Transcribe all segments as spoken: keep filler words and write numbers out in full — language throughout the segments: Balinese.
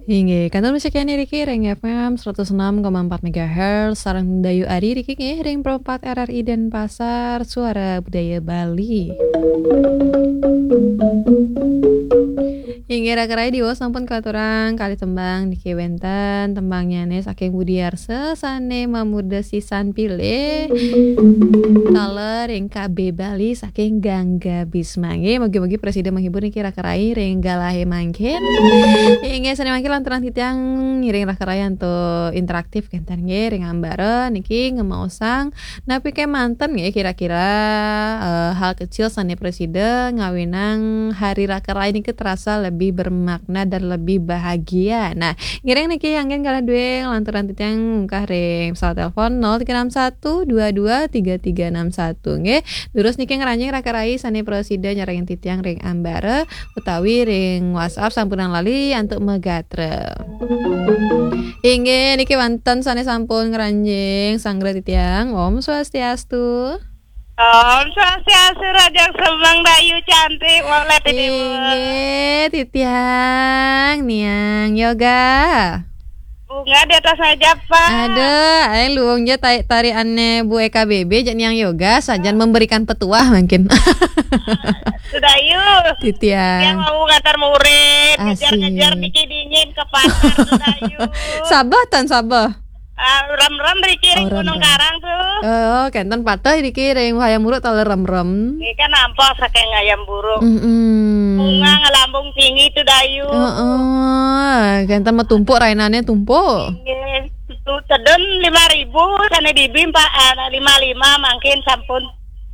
Inggih, kantun masih kéné niki ring F M seratus enam koma empat megahertz, sareng Dayu Ari niki nggih ring Pro empat R R I Denpasar, Suara Budaya Bali. Inggih, raka rai diwaos sampun katurang kalih tembang niki wénten tembangnyané saking Budi Arsa sané mamurda sisan pilih. Taler ring K B Bali saking Gangga Bisma. Nggih, mugi-mugi prasida menghibur niki raka rai ring galahé mangkin. Inggih, sané mangkin lanturang titiang ngiring raka rai antuk interaktif kénten nggih ring ambara niki ngemaosang napi kémanten nggih kira-kira, eh, hal kecil sané prasida ngawinang hari raka rai niki terasa lebih bermakna dan lebih bahagia. Nah, ngiring niki anggén galah dué lanturang titiang mungkah ring pesawat telepon nol tiga enam satu dua dua tiga tiga enam satu nggih. Durus niki ngranjing raka rai sané prasida nyarengin titiang ring ambara utawi ring WhatsApp sampunang lali antuk magatra. Inggih, niki wénten sané sampun ngranjing sanggra titiang. Om Swastiastu. Om Swastiastu, Raja Semang Dayu cantik, Walet di Dewa. Inggih, titiang Niang Yoga. Bunga di atas meja, Pak. Aduh, aing luung ja tai-, tariannya Bu E K B B, jak Niang Yoga, sajan memberikan petuah mungkin. Sudayu. Titiang. Yang mau ngantar murid, ngejar-ngejar Asik. Niki dingin ke pasar, Sudayu. Sabah tan sabah. Ah, rem-rem riki ring Oh, Gunung rem-rem. Karang tuh. Oh, kénten pateh niki ring Hayam Wuruk taler rem-rem. Ini kan nampak saking Hayam Wuruk. Mm-mm. Bunga ngelambung tinggi tuh, Dayu. Heeh, kénten matumpuk rainané tumpuk. Nggih, tu tedun lima ribu, sané dibim, Pak, ah, lima lima mangkin sampun, eh,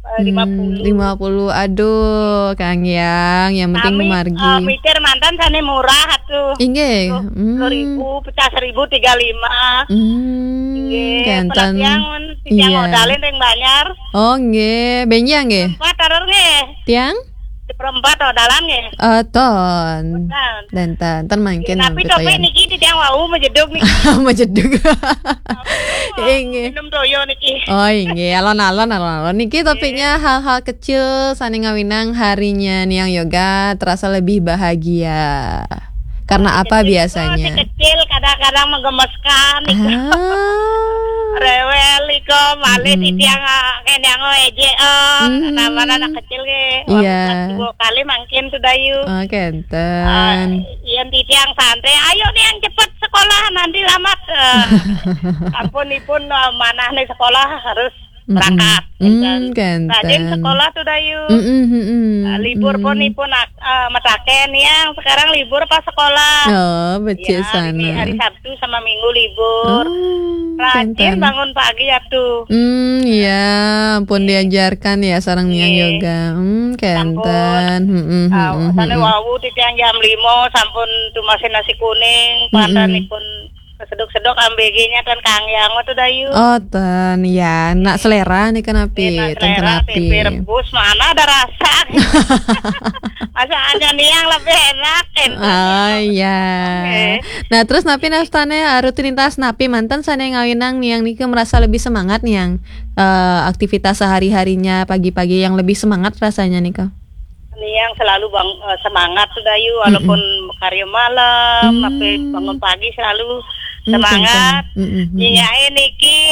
Hmm, lima puluh. Lima puluh. Aduh, Kang Yang, yang penting Kami, margi. Eh, mikir mantan sané murah atuh. Inggih. Sepuluh, Hmm. sepuluh ribu, pecah seribu, tiga lima. Hmm, Nggih, kénten. Pelatihan, titiang Iya. Modalin ring Banjar. Oh, nggih. Benjang nggih. Empat taruh nggih. Tiang? Seperempat ordalan nggih. Eh, ton. Ton. Dan tan, tan mangkin Tapi nampik topik toyan. Niki titiang wau majedug niki. Majedug. Inggih. Minum toyo niki. Oh, inggih. Alon-alon, alon-alon. Niki topiknya hal-hal kecil sané ngawinang harinya Niang Yoga terasa lebih bahagia. Karena apa biasanya? Kecil, kadang-kadang menggemeskan. Ah. Rewel iko, malih Mm-mm. titiang, ah, kéné ngejek, ah, Mm-mm. Namanya anak kecil nggih. Iya. Wau kelas dua kali mangkin tuh, Dayu. Oh, kénten. Ah, yén titiang santai, "Ayo nih yang cepet sekolah, nanti lambat." Eh, ampun ipun, eh, manah nih sekolah harus Mm-mm. berangkat. Hmm, Kénten. Rajin kénten. Sekolah tuh, Dayu. Mm-mm, mm-mm. Ah, libur pun Mm. ipun ak-, eh, mataken yang sekarang libur apa sekolah? Oh, becik Ya, hari, sana. Hari Sabtu sama Minggu libur. Oh, Rajin kénten. Bangun pagi ya tuh. Hmm, iya, ampun diajarkan ya sareng Niang Iya. Yoga. Hmm, Sampun. Kénten. Hmm, hmm, Ah, hmm, hmm, sana hmm. Wau titiang jam lima sampun tumasin nasi kuning, Mm-mm. pantan ipun keseduk-seduk ambegenya dan Kang Yang tuh, Dayu. Oh, ten ya, nak selera nih kenapi, Enak ten selera, kenapi. Tempe rebus mana ada rasa. Masa hanya Niang lebih enak, kan? Oh, iya. Oke. Nah, terus napi nastane, eh, rutinitas napi manten sane ngawinang Niang niki merasa lebih semangat, Niang? Eh, aktivitas sehari-harinya pagi-pagi yang lebih semangat rasanya nika? Niang selalu bang-, eh, semangat tuh, Dayu, Mm-mm. walaupun karya malam, Mm. tapi bangun pagi selalu Mm, semangat. Kencang. Mm-mm, mm-mm. Nyinyake niki